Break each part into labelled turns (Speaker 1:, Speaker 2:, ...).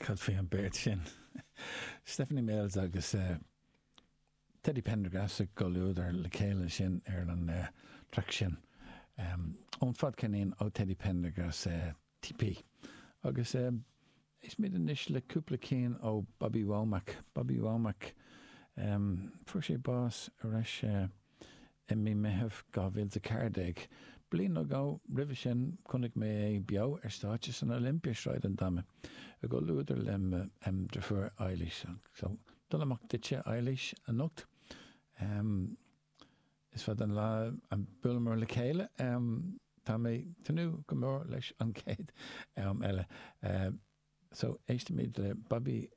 Speaker 1: Cad faoi an beart sin? Stephanie Mills agus Teddy Pendergrass i gcomhluadar le chéile sin ar an traic sin ón fadcheirnín ó Teddy Pendergrass TP. Agus éistfimid anois le cúpla cinn ó Bobby Womack. Bobby Womack, fuair sé bás ar ais i mí Meitheamh 2014. Bliain nó dhó roimhe sin chonaic mé é beo ar stáitse san Olympia, Sráid an Dama, i gcomhluadar le mo dheirfiúr Eilís. So, dul amach duitse, Eilís, anocht. Is fada an lá a bhuaileamar le chéile. Tá mé ag tnúth go mór leis an chéad am eile. So, éistimid le Bobby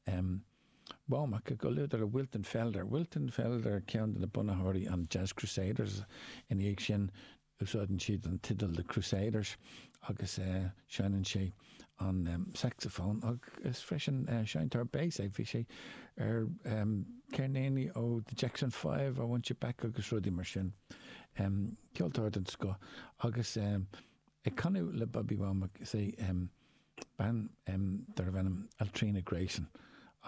Speaker 1: Womack i gcomhluadar le Wilton Felder. Wilton Felder, ceann de na bunaitheoirí an Jazz Crusaders. Ina dhiaidh sin, úsáideann siad an teideal The Crusaders agus seinneann sé an saxophone agus freisin seinnteoir bass é. Bhí sé ar ceirníní ó The Jackson 5, I Want You Back agus rudaí mar sin. Ceoltóir den scoth agus ag canadh le Bobby Womack is é bean darbh ainm Altrena Grayson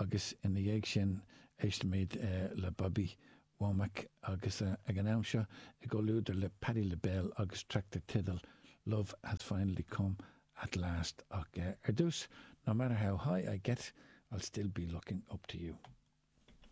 Speaker 1: agus ina dhiaidh sin éistfimid le Bobby Womack agus ag an am seo i gcomhluadar le Patti LaBelle agus traic dar teideal Love Has Finally Come At Last ach ar dtús No Matter How High I Get I'll Still Be Looking Up To You.